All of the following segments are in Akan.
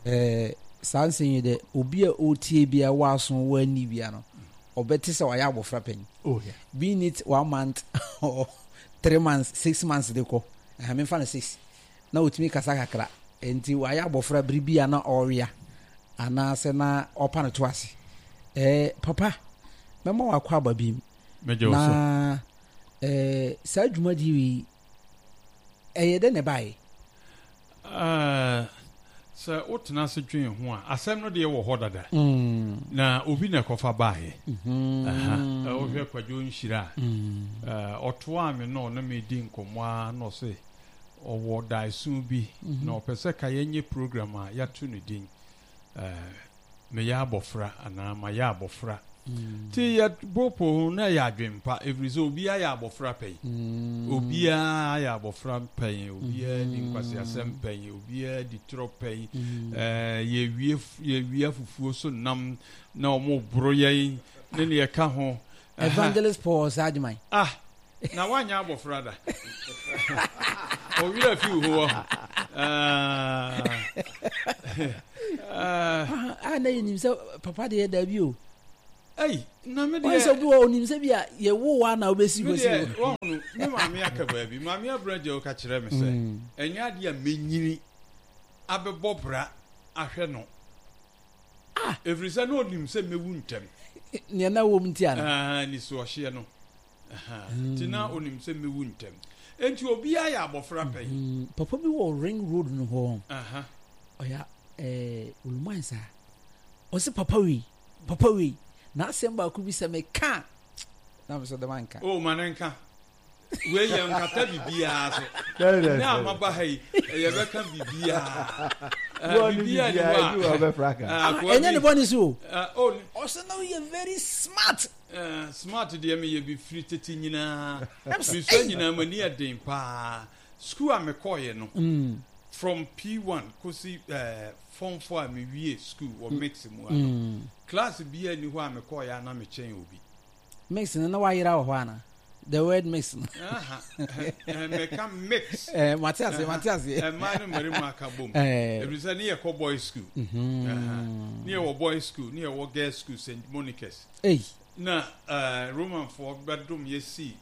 Ɛɛ saa nsɛm yi dɛ obi a ɔretie bia wɔ aso wɔ ani bia no ɔbɛte sɛ wayɛ abɔfra panyin. Oh, yeah. Being it one month or 3 months, 6 months de kɔ ɛhɛn mefa no 6 na otumi kasa kakra, nti wayɛ abɔfra biribi a na ɔrewea anaasɛ na ɔpa no to ase. Papa, mɛma wakɔ aba bi mu na saa dwumadie yi ɛyɛ dɛ na ɛbaeɛ? Sɛ wotena ase dwen ho a, asɛm no deɛ wɔ hɔ dada. Na obi na ɛkɔfa baeɛ. Wohwɛ Kwadwo Nhyira a, ɔtoaa me na ɔne me di nkɔmmɔ a, na ɔse ɔwɔ daeso bi na ɔpɛ sɛ ka yɛnyɛ program a yɛato no din Meyɛ Abɔfra anaa Mayɛ Abɔfra. Nti yɛbɔpɔ ho na ɛyɛ adwempa, ɛfiri sɛ obiara yɛ abɔfra pɛn. Obiara yɛ abɔfra pɛn, obiara di nkwaseasɛm pɛn, obiara di torɔ pɛn. Yɛwie yɛwia fufuo so nam na wɔn boro yɛn ne deɛ ɛka ho. Evangelist Paul Osei-Agyeman. Ah, na woanyɛ abɔfra da. Ɔwerɛ fi wo ho wɔ ho. Ah, na yɛnim sɛ papa deɛ daabi o. Ei, na me deɛ. Wɔn sɛ obi wɔ onim sɛ bi a yɛwo wa na wobɛsi hɔ si hɔ. Wɔn me maame aka baabi. Maame abura gya ɔka kyerɛ me sɛ ɛnyɛ adeɛ a menyini abɛbɔ bra ahwɛ no. Ah! Ɛfiri sɛ na ɔnim sɛ mɛwu ntɛm. Nea na wɔm nti ana? Ah, nisuɔhyeɛ no. Nti na ɔnim sɛ mɛwu ntɛm. Enti obiara yɛ abɔfra pɛn. Papa bi wɔ Ring Road no hɔ. Ɔyɛ ɛɛ Oluman saa. Ɔsɛ papa wei, papa wei. Na asɛm baako bi sɛ meka na mesɛ dɛm anka. O ma ne nka. Wei yɛ nkata biribiara so. Ne a maba ha yi, yɛbɛka biribiara. Biribiara ni hɔ a. Ɛnyɛ ne bɔne so o. Ɔsɛ na woyɛ very smart. Smart deɛ meyɛ bi firi tete nyinaa. Mesua nyinaa m'ani yɛ den paa. School a mekɔɔyɛ no, from P1 kɔsi form 4 a mewie school wɔ mix mu ha no, class biara nni hɔ a mekɔɔyɛ a na mekyɛn obi. Mix no na wayera wɔ hɔ ana? The word mix no. Meka mix. Mate ase, mate ase. Mmaa ne mmarima aka bom. Ɛfiri sɛ ne yɛkɔ boys school. Ne yɛwɔ boys school, ne yɛwɔ girls school, St. Monica's. Ei. Na Romanfoɔ bɛdom yɛsi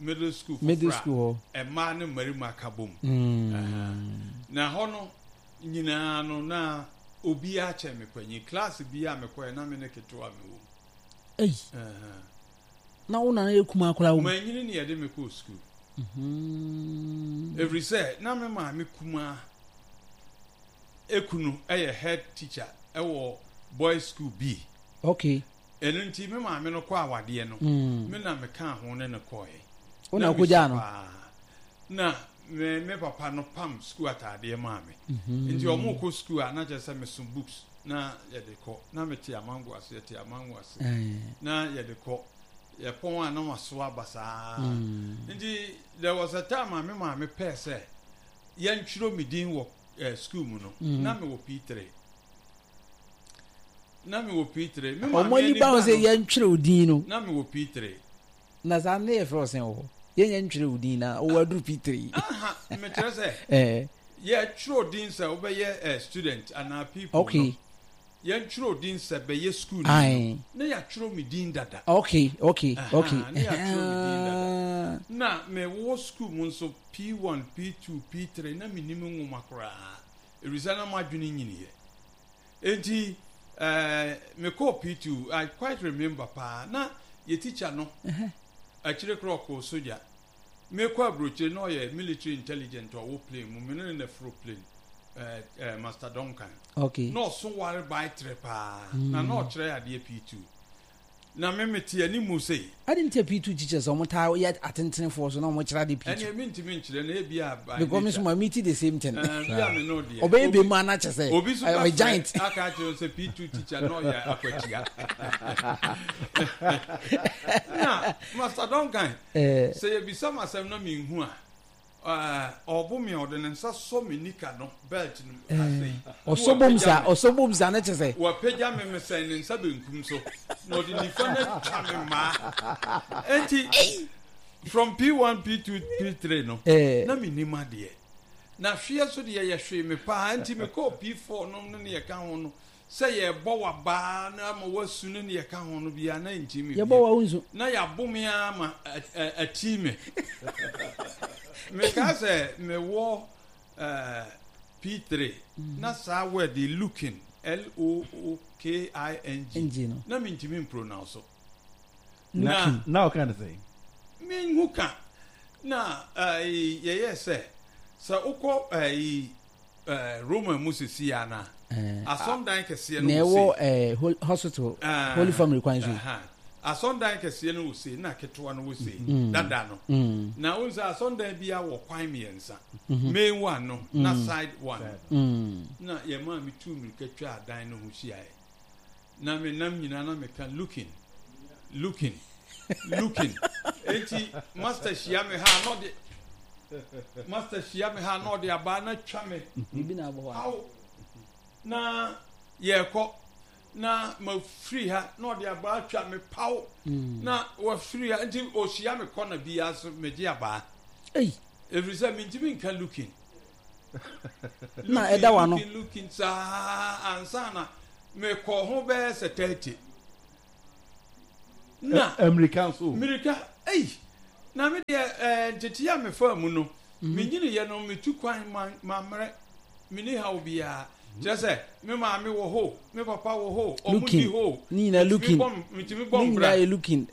middle school foforɔ. Middle school hɔ. Mmaa ne mmarima aka bom. Na hɔ no nyinaa no na obiara kyɛn me panyin. Class biara mekɔɛ na me ne ketewa mewɔ mu. Ei. Na wo nana yɛ kumaa koraa wɔ mu. Manyini ne yɛde me kɔɔ sukuu. Ɛfiri sɛ na me maame kumaa ekunu yɛ head teacher wɔ boys school bi. Okay. Ɛno nti me maame no kɔ awadeɛ no, me na mekaa ho ne no kɔɔɛ. Wo na wokɔgyaa no? Na me me papa no pam sukuu ataadeɛ maa me. Nti ɔmo kɔ sukuu a na kyerɛ sɛ meso books na yɛde kɔ. Na mete amango ase, yɛte amango ase na yɛde kɔ. Yɛpɔn a na maso aba saa. Nti there was a time a me maame pɛɛ sɛ yɛntwerɛ me din wɔ sukuu mu no, na mewɔ P3. Na mewɔ P3. Me maame Ɔmo ani ba ho sɛ yɛntwerɛ wo din no. Na mewɔ P3. Na saa ne yɛfrɛ wo sɛn wɔ hɔ? Yɛnyɛ ntwerɛ wo din na wowɔ aduru P3. Aha, mekyerɛ sɛ yɛtwerɛ din sɛ wobɛyɛ student anaa people no. Yɛntwerɛ din sɛ bɛyɛ school no. Na yɛatwerɛ me din dada. Okay. Na yɛatwerɛ me din dada. Na mewɔ school mu nso P1, P2, P3 na mennim nwoma koraa. Ɛfiri sɛ na m'adwene nyiniiɛ. Enti mekɔɔ P2, I quite remember paa, na yɛ teacher no akyire koraa ɔkɔɔ sogya. Mekɔ aburokyire na ɔyɛ military intelligent ɔwɔ plane mu, me ne no na foro plane, Master Duncan. Na ɔso ware bae trɛ paa, na na ɔkyerɛ adeɛ P2. Na me mete animu sei. Adi nti a P2 teachers ɔmo taa yɛ atentenefoɔ so na ɔmo kyerɛ ade P2. Ɛneɛ mentumi nkyerɛ na ebi a by nature. Because me nso ma meet the same thing. Ɛɛ bi a me no deɛ. Ɔbɛyɛ bɛ mu ana kyɛ sɛ. Obi so bɛ frɛ aka akyerɛ wo sɛ P2 teacher na ɔyɛ akwatia. Na Master Duncan, sɛ yɛbisa me asɛm na menhu a, Ɔbo me a, ɔde ne nsa sɔ me nika no belt no mu ha sei. Ɔsɔ bom saa, ɔsɔ bom saa ne kyɛ sɛ. Wapagya me mesɛn ne nsa benkum so, na ɔde nifa no atwa me mmaa. Enti, From P1, P2, P3 no, Eh. na mennim adeɛ. Na hweɛ so deɛ yɛhwee me paa, nti mekɔɔ P4 nom ne neɛ ɛka ho no, sɛ yɛrebɔ w'abaa na ama woasu ne neɛ ɛka ho no biara, na ɛnti me Yɛbɔ bio. wa wonsu. Na yɛabo me ara ma atii me. Mekaa sɛ mewɔ eh, P3, na saa word yi, looking, L-O-O-K-I-N-G, N-G no. na mentumi mpronounce. Na na ɔka ne sɛn? Menhu ka. Na ɛyi yɛyɛ sɛ sɛ wokɔ ɛyi ɛɛ Roma mu sisi ya na asɔndan kɛseɛ no na wɔ ɛwɔ ɛɛ hospital Holy Family kwan so. Asɔndan kɛseɛ no wɔ sei na ketewa no wɔ sei dada no. Na wohu sɛ asɔndan bi wɔ kwan mmiɛnsa. Main one no na side one. Na yɛn maame tu mmirika twa adan no ho hyiaeɛ. Na me nam nyinaa na meka looking, looking, looking. Enti master hyia me ha na ɔde master hyia me ha na ɔde abaa na twa me. Biribi na abɔ hɔ. Awo na yɛkɔ na mafiri ha na ɔde abaa twa me paw mm. na wafiri ha nti ɔhyia me kɔ na biara so megye abaa. Ei. Ɛfiri sɛ mentumi nka looking. Na ɛda w'ano. Looking looking saa ansa na mekɔ ho bɛyɛ sɛ 30. Na mmirika nso. Mmirika ei na me deɛ ɛɛ ntete a mefaa mu no mhm. menyiniiɛ no metu kwan ma mammerɛ menni haw biara kyerɛ sɛ me maame wɔ hɔ me papa wɔ hɔ ɔmo di hɔ ne nyinaa looking metumi bɔ ne nyinaa yɛ looking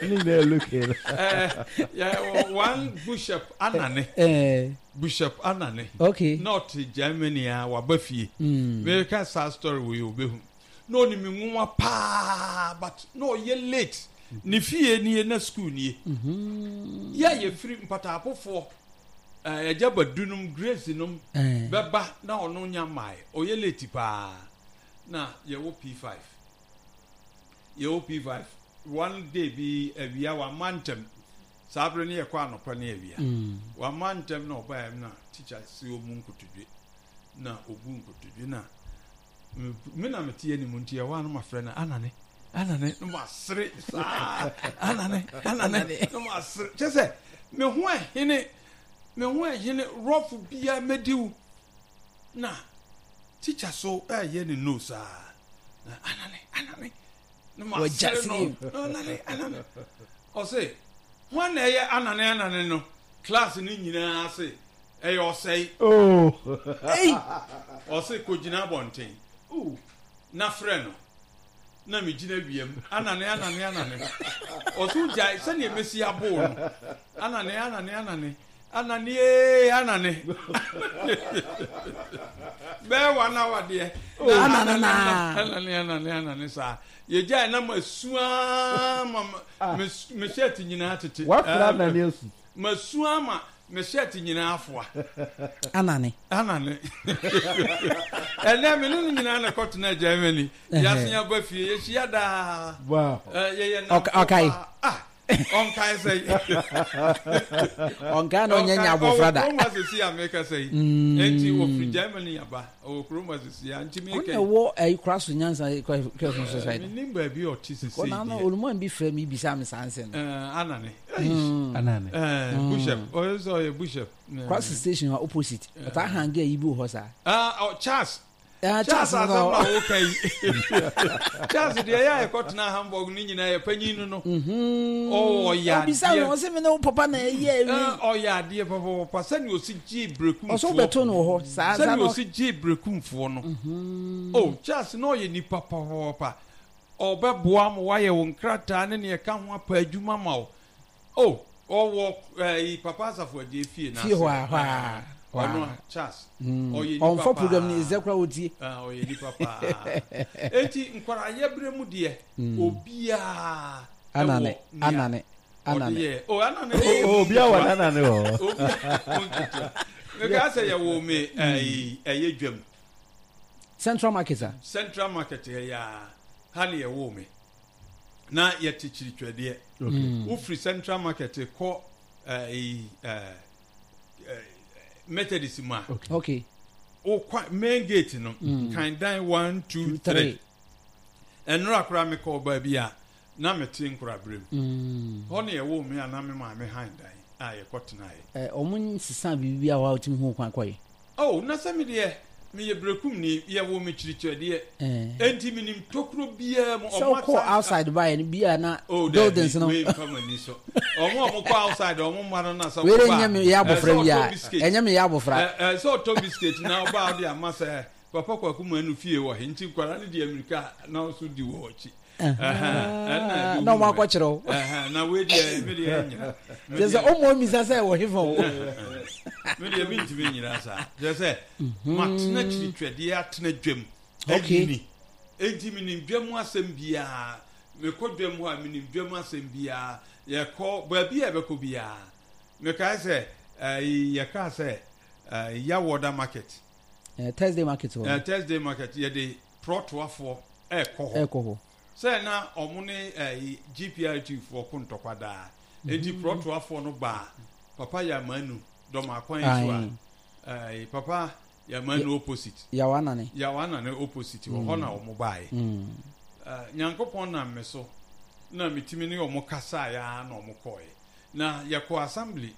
ne nyinaa yɛ looking ɛɛ yɛ one bishop anane ɛɛ bishop anane okay na ɔte Germany a waba fie mm. meka saa story wɔ yɛ obehu na ɔnim nwoma paa but na ɔyɛ late ne fie nie na school nie mm-hmm. yɛ a yɛfiri mpataapofoɔ Eh, agya Badu nom, Grace nom eh. bɛba na ɔno nya mmae. Ɔyɛ late paa. Na yɛwɔ P5. Yɛwɔ P5. One day bi awia wamma ntɛm. Saa bere no yɛkɔ anɔpa ne awia. Mm. Wamma ntɛm na ɔbaeɛ na teacher si ɔmu nkotodwe. Na ɔbu nkotodwe na me na mete anim nti ɛhɔ a na mafrɛ no anane anane na masere saa anane anane na masere kyɛ sɛ me ho ɛhene me ho ɛhene rɔfo biara mɛdi wo na tikya so ɛyɛ ne no saa na anane anane na masere no anane anane ɔse hwan na ɛyɛ anane anane no class no nyinaa se Ɛyɛ ɔsɛe. Oh. Ei! Ɔse kɔgyina abɔnten. Ooh. Na frɛ no. Na megyina wiam. Anane, anane, anane. Ɔse wogyae sɛdeɛ mɛsi aboo no. Anane, anane, anane. Anane ee, anane. Bɛyɛ one hour deɛ. Oh. Anane naa. Anane, anane, anane saa. Yɛgyae na masu ara ma me shirt nyinaa tete. Wafrɛ anane asu. Masu ama me shirt nyinaa afoa. Anane. Anane. Ɛnɛ me ne no nyinaa na ɛkɔtena Germany. Yɛasen aba fie, yɛhyia daa. Wow. Yɛyɛ nnamfo Ɔkae. paa. Ah, ɔnkae sɛ. Ɔnkae na ɔnyɛ nya abɔfra da. Ɔwɔ kurom asesi a meka sɛ yi. Enti wɔfiri Germany aba. Ɔwɔ kurom asesi a nti meka Ɔno na ɛwɔ ɛyi kora so nyansa kura so society. Menim baabi a ɔte sesei Kɔ na deɛ. oluman bi frɛ mi bisa mi saa nsɛm. Anane. Anane. Bishop. Ɔyɛ sɛ ɔyɛ bishop. Kora so station hɔ opposite. Ɔtaa hange ayi bi wɔ hɔ saa. Ah, Charles. Ah, Charles Charles no asɛm na woka yi. Charles deɛ ɛyɛ a yɛkɔtena Hamburg no nyinaa yɛ panyin no no. Ɔyɛ adeɛ. Obisa no ɔsɛ me ne wo papa na ɛyɛ awi. Ɔyɛ adeɛ papapapa sɛnea ɔsi gyee berekumfoɔ. Ɔsɛ wobɛto no wɔ hɔ saa saa. Sɛnea ɔsi gyee berekumfoɔ no. Oh, Charles na ɔyɛ nipa papapapa. Ɔbɛboa ma woayɛ wo nkrataa ne nea ɛka ho apɛ adwuma ma wo. Oh, ɔwɔ ɛyi Papa Asafo Adjei fie n'ase. Fie hɔ a, hɔ a, hɔ a. Ɔno a, Charles. Ɔyɛ nipa paa. Ɔnfa program ni ɛzɛ koraa ɔtie. Ah, ɔyɛ nipa paa. Eti nkwarayɛ berɛ mu deɛ, obiara ɛwɔ Anane, nea anane, ɔde anane. yɛ. Oh, anane deɛ Oh, obiara wɔ n'anane wɔ hɔ. Obiara wɔ nketewa. Mekaa sɛ yɛwoo me ɛyi ɛyɛ dwam. Central Market a. Central Market ha yi ara, ha na yɛwoo me. Na yɛte Kyiritwadeɛ. Wofiri Central Market kɔ ɛyi ɛɛ Methodist mu a. Okay. Wokɔ main gate no, kan dan 1, 2, 3. Ɛnora koraa mekɔɔ baabi a. Na mete nkoraberɛ mu. Hɔ na yɛwoo me a na me maame han dan a yɛkɔtenaeɛ. Ɛ, wɔn nsesa biribi a hɔ a wotumi hu kwan kɔe. Oh, na sɛ me deɛ, meyɛ Berekumni, yɛwoo me Kyirikyerɛdeɛ, enti menim tokuro biara mu. Sɛ Wɔn wokɔ asan, outside baeɛ no, bi a na Oh, daabi, buildings no. wei mfa m'ani so. Wɔn a wɔkɔ outside, wɔn mma no na sɛ Wei de wɔba nyɛ a, me yɛ ɛɛ, abɔfra sɛ bi ɔtɔ a, biscuit, ɛnyɛ me yɛ abɔfra. ɛɛ, ɛɛ, sɛ ɔtɔ biscuit na ɔba a ɔde ama sɛ Papa Kwaku Manu fie wɔ he, nti nkwadaa no di amirika a na wo nso di wɔ akyi. Na ɔmo akɔkyerɛ wo. Na wei deɛ me deɛ nyina. Kyerɛ sɛ ɔmo mmisa sɛ wɔ hefa o. Me deɛ mentumi nyina saa. Kyerɛ sɛ matena kyiritwɛdeɛ atena dwam anyini. Enti menim dwam asɛm biara. Mekɔ dwam hɔ a menim dwam asɛm biara. Yɛkɔ baabi a yɛbɛkɔ biara. Mekae sɛ yɛkaa sɛ Yawoda market. Thursday market hɔ. Thursday market yɛde prɔtoafoɔ ɛkɔ hɔ. Ɛkɔ hɔ. Sɛ na ɔmo ne ɛyi GPRT foɔ ko ntɔkwa daa. Enti prɔtoafoɔ no baa Papa Yamanu dɔm akwan yi so a, ɛyi Papa Yamanu opposite. Yawanane. Yawanane opposite wɔ hɔ na ɔmo baeɛ. Nyankopɔn nam me so na metumi ne ɔmo kasaeɛ ara na ɔmo kɔeɛ. Na yɛkɔɔ assembly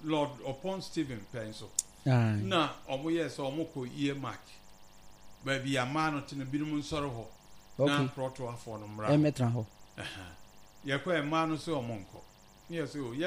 Lord Ɔpɔn Stephen pɛn so. Na ɔmo yɛɛ sɛ ɔmo kɔ earmark baabi a mmaa no te no binom nsɔre hɔ na prɔtoafoɔ no mmra hɔ. Ɛmmɛtena hɔ. Yɛkɔɛ mmaa no sɛ ɔmo nkɔ. Ne yɛ sɛ o yɛ.